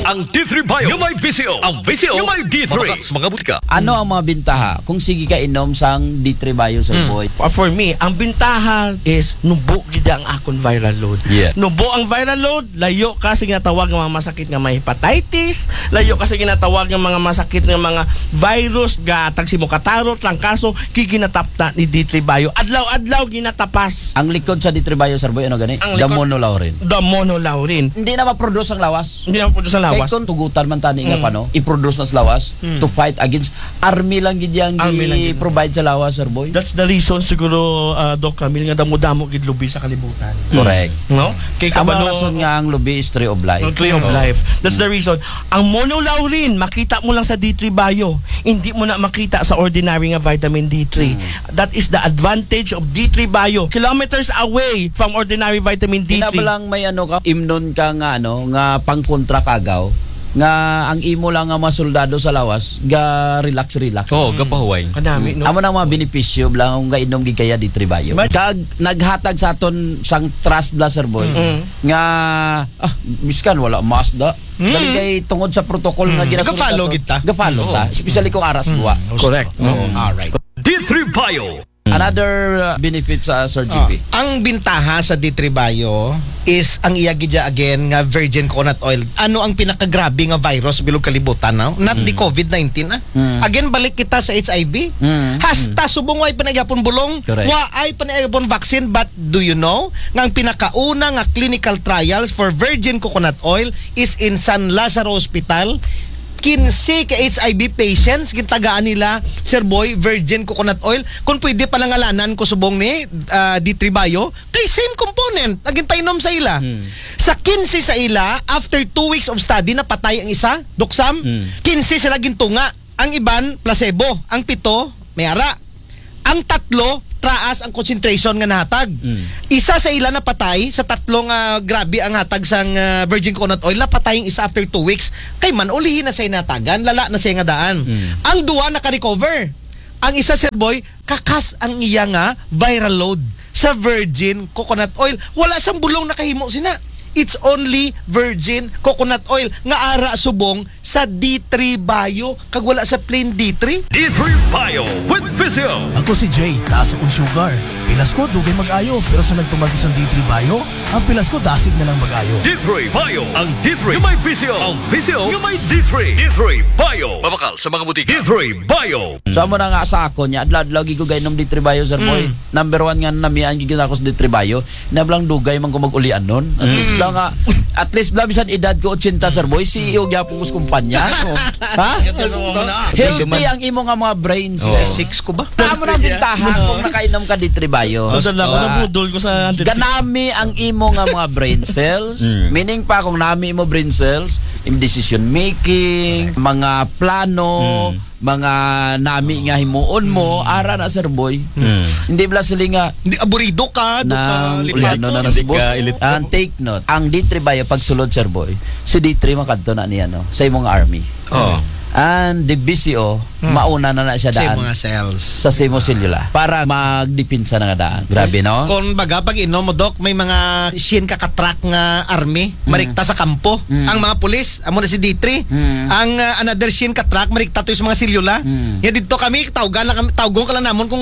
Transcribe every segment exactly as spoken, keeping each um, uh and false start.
Ang D three Bio nga may V C O. Ang V C O nga may D three. Mabakal sa mga butika. Ano ang mga bintaha kung sige ka inom sang D three Bio, Sir Boy? Uh, for me, ang bintaha is nubo gid ang akon viral load. Yeah. Nubo ang viral load, layo ka sa ginatawag nga mga masakit nga may hepatitis, layo ka sa ginatawag nga mga masakit nga mga virus, gatag si mukataro, trangkaso, giginatapta ni D three Bio. Adlaw-adlaw ginatapas. Ang likod sa D three Bio, Sir Boy, ano gani? Ang The likod, Monolaurin. The Monolaurin. Hindi na ma-produce ang lawas. Hindi na ma-produce ang lawas. Kay kung tugutan man tani nga, mm, pano, i-produce na sa lawas, mm, to fight against, army lang gid yang, army lang gid, gi-provide sa lawas, Sir Boy. That's the reason siguro, ah, Doc Camille, nga damo-damo gid lubi sa kalibutan. Correct. No? Kay amo ang kabalo rason nga ang lubi is tree of life. Ang tree of life. That's the reason. Ang monolaurin, makita mo lang sa D three Bio. Hindi mo na makita sa ordinary nga vitamin D three. Mm. That is the advantage of D three Bio. Kilometers away from ordinary vitamin D three. Kinabalang may ano ka, imnon ka nga ano, nga pangkontra kagaw, nga ang imo lang nga mga soldado sa lawas, ga relax, relax. Oo, gapahuway. Kanami, no? Amo na ang mga benepisyo, bala, kung gainom gid kaya D three Bio. But kag naghatag sa aton sang trust, bala, Sir Boy, mm, nga, ah, biskan wala mask da. Mm. Dali kay tungod sa protocol nga, mm, ginasunod nato, gafollow gid ta. Gafollow ta. Oo. Especially kung aras, mm, duwa. Correct. Oo. Mm. Alright. D three Bio. Another, uh, benefit sa Sir G P. Ah, ang bintaha sa D three Bio is ang iya gid ya again nga virgin coconut oil. Ano ang pinakagrabe nga virus bilog kalibutan, no? Not the, mm, covid nineteen, ah. Mm. Again, balik kita sa H I V. Mm. Hasta, mm, subong way pa na gyapon bulong, correct, way pa na gyapon vaccine, but do you know nga ang pinakauna nga clinical trials for virgin coconut oil is in San Lazaro Hospital? Kinse ka H I V patients, gintagaan nila, Sir Boy, virgin coconut oil. Kung pwede, palangalanan ko subong ni, ah, D three Bio, kay same component ang ginpainom sa ila. Hmm. Sa kinse sa ila, after two weeks of study, napatay ang isa, Doc Sam. Hmm. Kinse sila gintunga. Ang iban, placebo. Ang pito, may ara. Ang tatlo, taas ang concentration nga nahatag. Mm. Isa sa ila napatay, sa tatlo nga grabe ang hatag sang, ah, virgin coconut oil, napatay ang isa after two weeks. Kay man, ulihi na siya natagan, lala na siya nga daan. Mm. Ang duwa naka-recover. Ang isa, Sir Boy, kakas ang iya nga viral load sa virgin coconut oil. Wala sang bulong nakahimo sina. It's only virgin coconut oil nga ara subong sa D three Bio, kag wala sa plain D three. D three Bio with Physio. Ako si Jay, taas akong sugar. Pilas ko, dugay mag-ayo, pero sa nagtuman ko sa D three Bio, ang pilas ko dasig na lang mag-ayo. D three Bio, ang D three nga may Physio. Ang Physio nga may D three. D three Bio. Mabakal sa mga butika. D three Bio. So, amo na nga sa akon, nya, adlaw-adlaw gid ko gainom D three Bio, Sir Boy. Mm. Number one nga namian gid ako sa D three Bio. Nablang dugay man ko mag-ulian nun. At least, mm, bala nga, at least bala bisan edad ko eighty, Sir Boy, C E O gyapon ko sa kumpanya. Ha? Healthy ang imo nga mga brain cells. Oh. Six ko ba? Amo na ang bintaha kung nakainom ka D three Bio. Basta lang, ah, nabudol ko sa hundred six. Ganami ang imo nga mga brain cells. Mm. Meaning pa, kung nami imo brain cells, in decision making, mga plano, mm, mga nami nga himuon mo, mm, ara na, Sir Boy. Mm. Hindi bala sila nga, hindi, aburido ka, do ka, na, lipat ulian na, na, na, si boss. Ka, ilit. And take note, ang D three Bio pagsulod, Sir Boy, si D three makadto na niya, no, sa imong army. Oh. And the B C O, mm, mauna na na siya sa daan mga cells. Sa imo selula para magdepensa na nga daan. Grabe, no? Kung baga, pag inom mo, Doc, may mga shin ka ka-track nga army, mm, marikta sa kampo. Mm. Ang mga pulis, amo na si D three. Mm. Ang, ah, another shin ka-track, marikta to sa mga selula. Mm. Ya dito kami, tawgan lang kami, tawgon ka lang namon kung,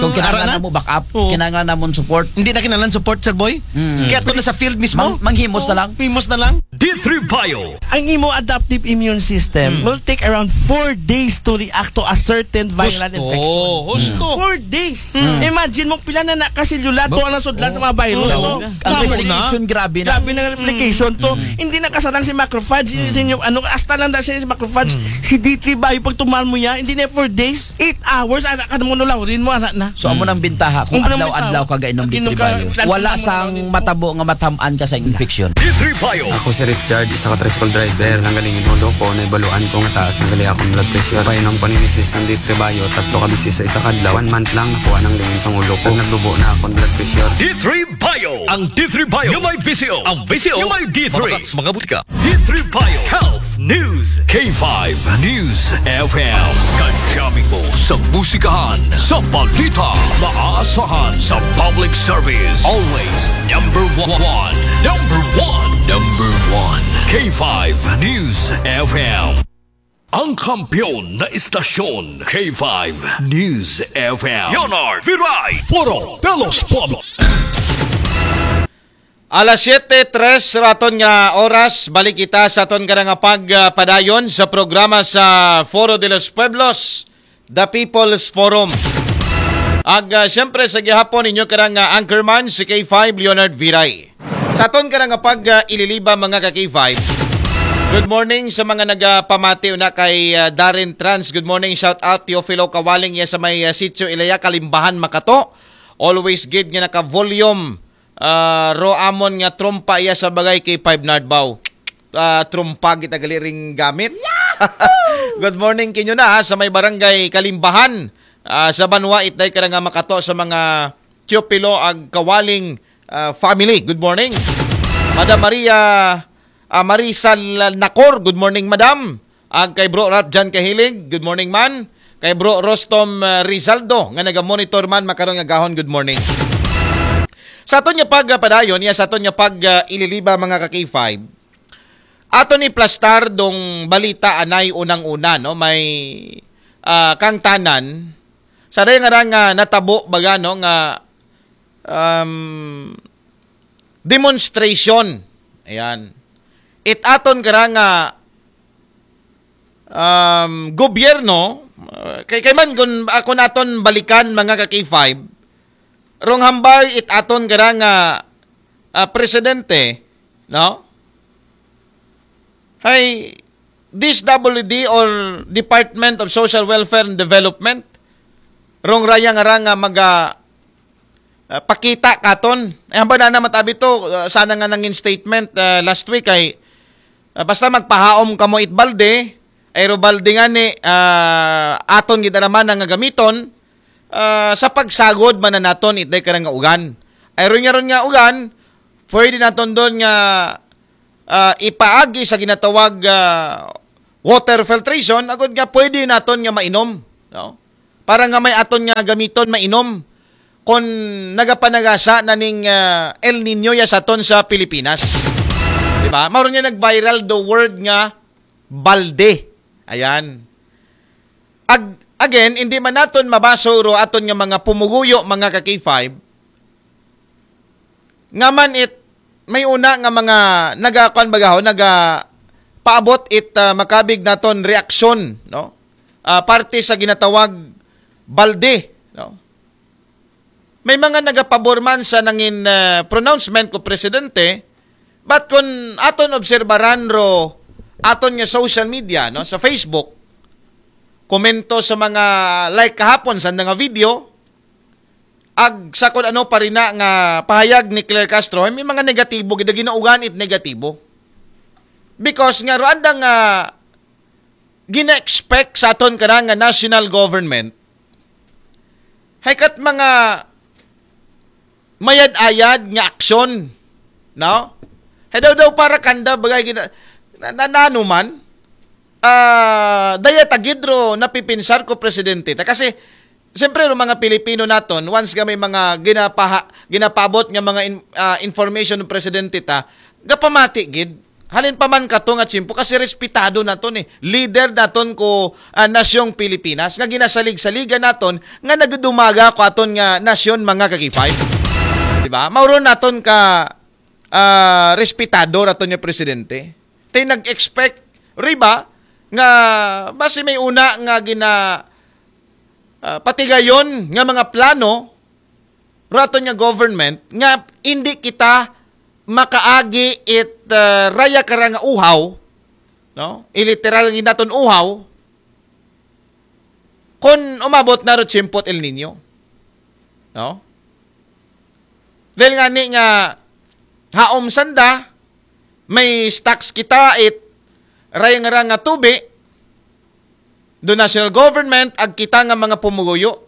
kung kinahanglan ara na mo backup, oo, kinahanglan namon support. Hindi na kinahanglan support, Sir Boy. Mm. Kaya to na sa field mismo. Mang-, manghimos na lang. Himos na lang. D three Bio. Ang imo adaptive immune system, mm, will take around four days to react to a certain viral infection. Husto. Husto. Four days. Mm. Imagine mo, pila na nakaselula, ba-, to ang nasudlan sa mga virus, oo, no? Ang replication, grabe na. Grabe na ang replication to. Mm. Hindi na kasadang si macrophage, mm, sa inyo, ano, hasta lang dahil si macrophage, mm, si D three Bio, pag tumal mo yan, hindi na four days, eight hours, anak ka mo, nulawrin mo, anak na. So, amo nang bintaha kung adlaw-adlaw ka gainom D three Bio. Wala sang matabo nga matam-an ka sa infection. D three Bio. Ako si Richard, isa ka tricycle driver. Nanggalingin ulo ko, naibaluan ko nga taas na gali akong blood pressure. Painom ko ni misis sang D three Bio, tatlo ka beses sa isa ka adlaw. One month lang, nakuha nang lingin sang ulo ko. Naglubo na akong blood pressure. D three Bio. Ang D three Bio nga may V C O. Ang V C O nga may D three. Mabakal sa mga butika. D Tripayo Health News, K five News F M. Kajaming mo sa musikahan, sa balita, maasahan sa public service. Always number one, number one, number one. K five News F M. Ang kampiyon na istasyon, K five News F M. Leonard Viray. Foro de los Pueblos. Alas siyete tres raton nga oras, balik kita sa aton karang pagpadayon sa programa sa Foro de los Pueblos, The People's Forum. Ag, ah, siyempre, sa gihapon, inyo karang ah, anchorman, si K five Leonard Viray. Sa aton karang pag ah, ililiba, mga ka K five. Good morning sa mga nagapamati una kay ah, Darren Trans. Good morning, shout out Teofilo Kawaling, iya sa may ah, sitio Ilaya, Kalimbahan, Makato. Always gid nga naka-volume. Ah, ro amon nga trompa iya sa bagay kay Five Nardbaw. Ah, trompa kita gali ring gamit. Good morning kinyo na ha, sa may barangay Kalimbahan. Ah, sa Banwa, itday ka na nga Makato sa mga Teofilo ag Kawaling ah, family. Good morning. Madam Maria ah, Marisal Nakor, good morning, Madam. Ag kay Bro Ralph John Kahilig, good morning, man. Kay Bro Rostom ah, Rizaldo, nga naga-monitor man makaron nga gahon, good morning. Sa aton nga pagpadayon, iya sa aton nga pag ah, ililiba, mga ka K five. Aton iplastar dong balita anay unang-una, no? May ah, kangtanan. Sa daya nga nga natabo baga, no, nga um, demonstration. Ayan. It aton kara nga um, gobyerno, uh, kay kay man kun ako naton balikan, mga ka K five, rong hambay it aton kara nga ah, presidente, no? Hay D S W D or Department of Social Welfare and Development, rong raya nga ra nga maga ah, pakita katon. Ay, hamba na naman tabi to, ah, sana nga nangin statement ah, last week ay ah, basta magpahaom kamo it balde, ay ro balde nga ni ah, aton gid naman nga gamiton ah, sa pagsagod man na naton itday karang nga ugan. Ay ron nga ron nga ugan, pwede naton doon nga ah, ipaagi sa ginatawag ah, water filtration, agud nga pwede naton nga mainom, no? Para nga may aton nga gamiton, mainom kon nagapanagasa na ning ah, El Nino ya sa aton sa Pilipinas. Di ba? Mao ron nga nag-viral the word nga balde. Ayan. Ag-, again, hindi man naton mabaso ro aton nga mga pumuguyo, mga ka K five, nga man it may una nga mga nagakuan bagaho, naga paabot it ah, makabig naton reaksyon, no? Ah, parte sa ginatawag balde, no? May mga nagapabor man sa nangin ah, pronouncement ko presidente, but kun aton obserbaran ro aton nga social media, no, sa Facebook, komento sa mga like kahapon sa nga video, ag sa kun ano pa rin na nga pahayag ni Claire Castro, ay may mga negatibo, gid ginaugan it negatibo. Because nga ro anda nga gina-expect sa aton kana nga national government, hay kat mga mayad-ayad nga aksyon, no? Hay daw daw para kanda bagay gina, na, na, na ano man, ah, daya tagid ro napipinsar ko presidente ta. Kasi, siyempre, ro mga Pilipino naton, once nga may mga ginapaha, ginapabot nga mga in, ah, information ng presidente ta, gapamati gid. Halin pa man kato nga tiyempo, kasi respetado naton eh. Leader naton ko ah, nasyong Pilipinas, nga ginasalig-saligan naton, nga nagdudumaga ko aton nga nasyon, mga ka K five. Di ba? Mauron naton ka ah, respetado raton nga presidente. Tay nag-expect riba nga basi may una nga gina ah, patigayon nga mga plano raton nga government nga hindi kita makaagi it ah, raya kara nga uhaw, no? Iliteral nga naton uhaw, kun umabot na ro tiyempo it El Nino. No? Dahil nga ni nga haom sanda, may stocks kita it raya nga ra nga tubi, do national government, ag kita nga mga pumuguyo.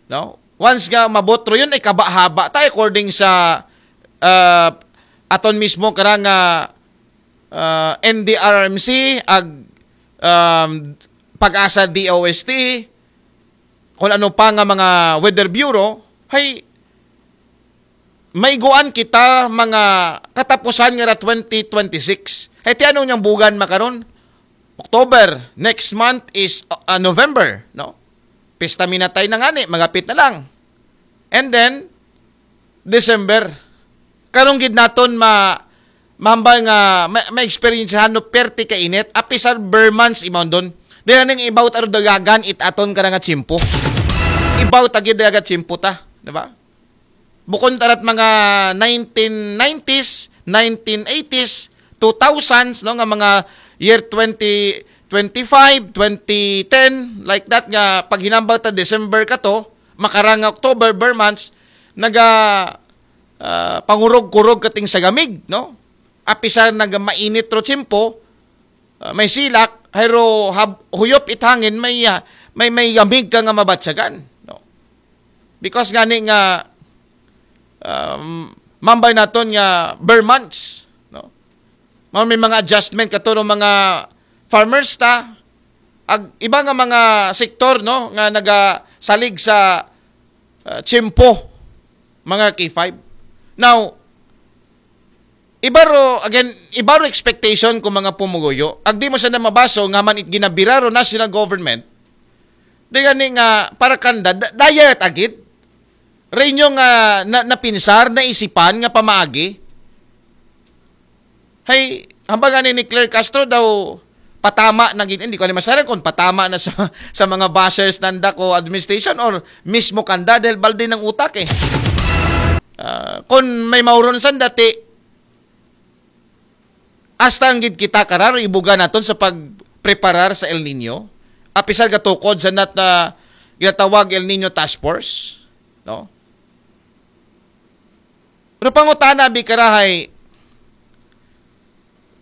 No? Once nga mabot ro yun, ay kaba-haba ta, according sa ah, aton mismo kara nga ah, N D R R M C, ag, um, PAGASA DOST, kung ano pa nga mga Weather Bureau, hay maiguan kita mga katapusan nga ra twenty twenty-six. Hay ti ano niyang bugan makaron? October, next month is uh, November, no? Pista minatay na ngani, magapit na lang. And then, December. Karong gid naton ma mahambal nga ma, ma-experiencehan no perte ka init, apisar Burmans imawon don. Dili ning ibaw ta ro dagagan it aton kada nga tiyempo. Ibaw ta gid dagat tiyempo ta, di ba? Bukon tarat mga nineteen nineties, nineteen eighties, two thousands, no, nga mga year twenty twenty-five, twenty ten, like that, nga paghinambal ta December kato, makarang nga October, ber months, naga ah, pangurog-kurog kating sa gamig, no? Apisar naga mainit ro tiyempo, ah, may silak, hayro hab, huyop it hangin, may ah, may may gamig ka nga mabatyagan, no? Because gani nga um, mambay naton nga ber months, no? Mao may mga adjustment kato ro mga farmers ta, ag iba nga mga sektor, no, nga nagasalig sa ah, tiyempo, mga K five. Now, iba ro, again, iba ro expectation ko mga pumuguyo. Ag di mo sa na mabaso nga man it ginabira ro national government, di gani nga para kanda, da, daya it agid. Renyo nga na, napinsar, naisipan nga pamaagi. Hay, hambal nga ni Claire Castro daw patama na gid, hindi ko ni masarang kung patama na sa, sa mga bashers nanda ko administration or mismo kanda dahil balde ng utak eh. Ah, kung may mauron san dati, hasta ang gid kita karar, ibuga naton sa pagpreparar sa El Nino, apisar gatukod sa nat na ginatawag El Nino Task Force, no? Pero pangutana bi karahay,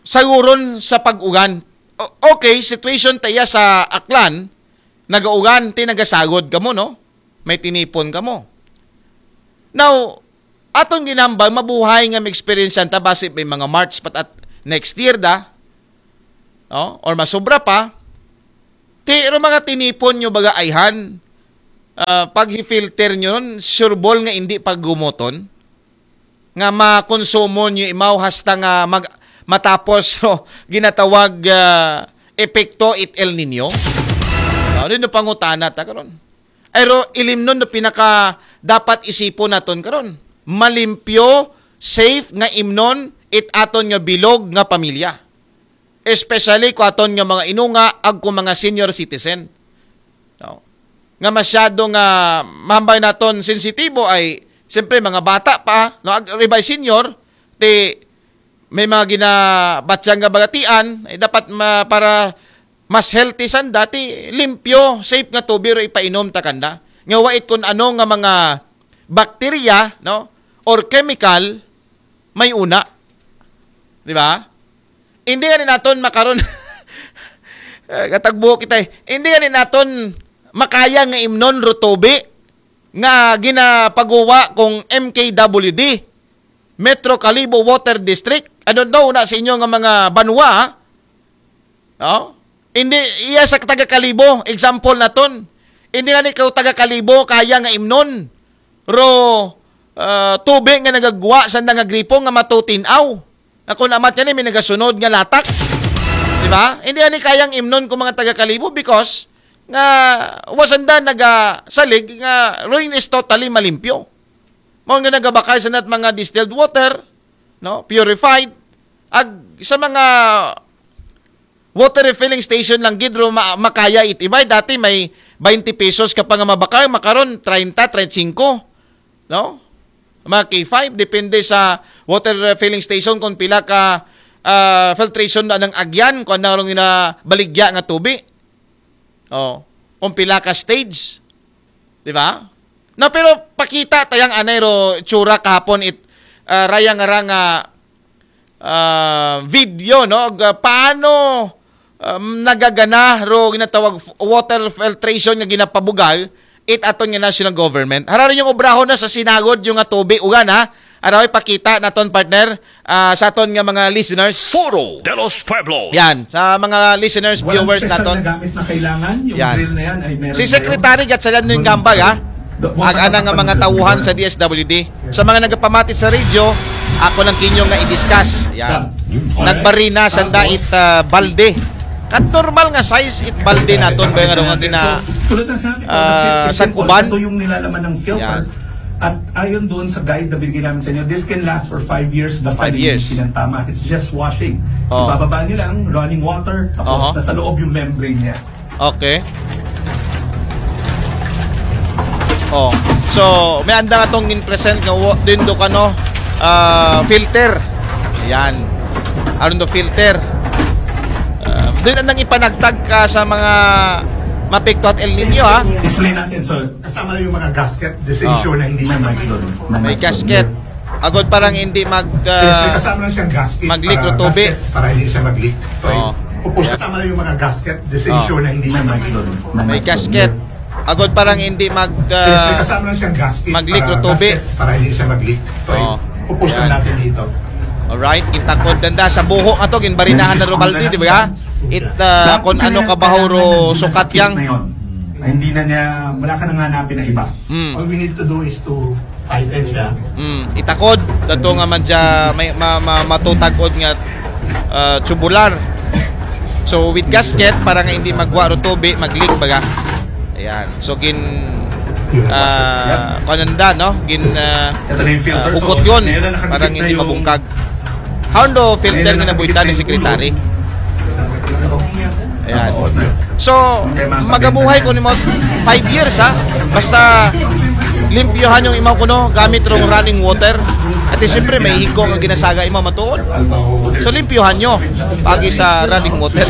saguron sa pag-ugan. O, okay, situation taya sa Aklan, nagaugan, ti nagasagod kamo, no? May tinipon kamo. Now, aton ginambal, mabuhay nga ma-experience ta base may mga March pat at next year da, no? Or masubra pa, ti ro mga tinipon nyo baga ayhan, ah, pag-filter nyo nun, sureball nga hindi paggumuton, nga makonsumo nyo imaw hasta nga mag, matapos ro ginatawag ah, epekto it El Nino. Ano no pangutana ta karon? Ay ro ilimnon no pinaka dapat isipon naton karon. Malimpyo, safe nga imnon it aton nga bilog nga pamilya. Especially ko aton nga mga inunga ag ko mga senior citizen. No? Nga masyado nga mahambay naton sensitibo ay siyempre mga bata pa, no, ag ribay senior ti may mga ginabatyang nga bagatian ay dapat ma, para mas healthy san dati limpyo, safe nga tubig ro ipainom ta kanda. Nga wait kun ano nga mga bakterya, no, or chemical may una. Di ba? Hindi nga ni naton makaron eh, katagbo kita eh. Hindi nga ni naton makaya nga imnon ro tubi nga ginapaguwa kung M K W D, Metro Kalibo Water District. I don't know na sa inyo nga mga banwa, no? Hindi, iya sa taga Kalibo, example naton. Hindi nga ni ka taga Kalibo, kaya nga imnon ro ah, tubi nga nagagwa sa nga gripo nga matutinaw. Ako na amat yan eh, may nagasunod nga latak. Di ba? Hindi ani kayang imnon ko mga taga Kalibo because nga wasanda nagasalig nga rain is totally malimpyo. Mao nga nagabakal sa nat mga distilled water, no, purified, ag sa mga water refilling station lang gid ro ma, makaya it iba. Dati may twenty pesos ka pa nga mabakal, makaron treinta, treinta y cinco, no? Mga K five, depende sa water refilling station kung pila ka ah, filtration na ng agyan, kung ano rong inabaligya nga tubi. Oh, kung pila ka stage. Di ba? Na pero pakita tayang anay ro tsura kahapon it ah, raya nga ra nga ah, video, no? Ga, paano um, nagagana ro ginatawag f- water filtration nga ginapabugal it aton nga national government. Hararin yung obrahon na sa sinagod yung nga tubi ugan ha. Araw, ipakita naton, partner, ah, sa aton nga mga listeners. Foro de los Pueblos. Yan, sa mga listeners, viewers naton. Walang special na gamit na kailangan. Yung drill na yan ay meron. Si Secretary Gatchalian din gambag, ha? Ag ana nga mga tawhan sa D S W D. Sa mga nagapamati sa radyo, ako lang kinyo nga i-discuss. Yan. Nagbarina sa dait, ah, balde. Kat normal nga size it balde naton ba nga, nga gina, ah, sa kuban. Ito yung nilalaman ng filter. Yan. At ayon doon sa guide na binigay namin sa inyo, this can last for five years basta linisin ng tama. It's just washing. Oh. Ibababa nyo lang, running water, tapos nasa loob yung membrane niya. Okay. Oh. So, may anda nga tong in present nga wa-, din do kano, ah, filter. Yan. Aron do filter. Ah, din andang ipanagtag ka sa mga mapikto at El Nino, ha? Display natin, sir. Kasama na yung mga gasket, just ensure na hindi na may doon. May gasket. Agod parang hindi mag, ah, kasama na siyang gasket mag-leak para, o tubig. Gaskets para hindi siya mag-leak. So, oh, pupus-, kasama na yung mga gasket, just ensure na hindi na may doon. May gasket. Agod parang hindi mag, ah, kasama na siyang gasket mag-leak o para tubig. Gaskets para hindi siya mag-leak. So, oh, pupus na natin dito. Alright, itakod danda sa buho nga to, ginbarinahan na Robaldi, di ba? It, ah, kung ano ka bahuro sukat yang. Hindi na niya, wala ka nang hanapin na iba. Mm. All we need to do is to tighten siya. Mm, itakod. Dato nga man siya, may, ma, ma, matutagod nga, ah, tubular. So, with gasket, para nga hindi magwa ro tubi, mag-leak baga. Ayan. So, gin, ah, kananda, no? Gin, ah, ito na yung filter. Ah, hugot yun. Para nga hindi mabungkag. How do filter nga nabuhitan ni Secretary? Ayan. So, magabuhay ko ni mo five years, ha? Basta limpyohan yung imaw ko, no, gamit rong running water. At siyempre, may hiko nga ginasaga imaw matuod. So, limpyohan nyo. Pagi sa running water,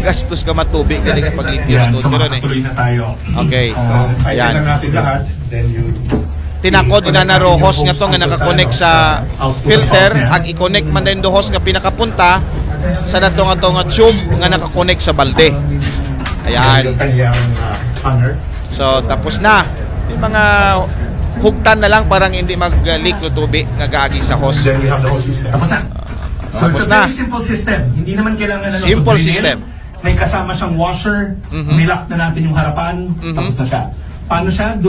gastos ka matubi, galing ang paglimpyo matuod. Pero, eh. Okay. Yan. Tinakod na na ro hose nga to nga nakakonek sa filter, ag i-connect man din do hose nga pinakapunta sa nato nga to nga tube nga nakakonek sa balde. Ayan. So, tapos na. Yung mga hugtan na lang para hindi mag-leak o tubi nga gaagi sa hose. Tapos na. So, it's a very simple system. Hindi naman kailangan ng simple system. May kasama siyang washer, nilock na natin yung harapan, tapos na siya. Paano siya?